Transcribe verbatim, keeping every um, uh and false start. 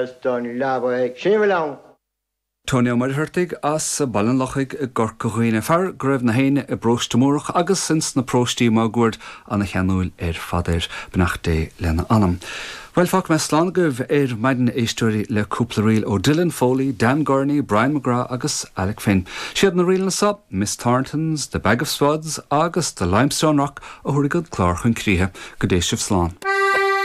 is don leaba sin a bhfuil ann. Tony Ó Muircheartaigh as Baile an Lochaigh i gCorca Dhuibhne fear go raibh na héinne i bparóiste Múrach agus ins na paróistí máguaird an-cheanúil ar fad air beannacht Dé lena anam. Well fágfaidh mé slán agaibh ar maidin éisteoirí le cúpla ríl ó Dylan Foley, Dan Gurney, Brian McGrath agus Alec Finn. Siad na ríleanna seo, Miss Thornton's, The Bag of Spuds agus The Limestone Rock a thabharfaidh an clár chun críche go dté sibh slán.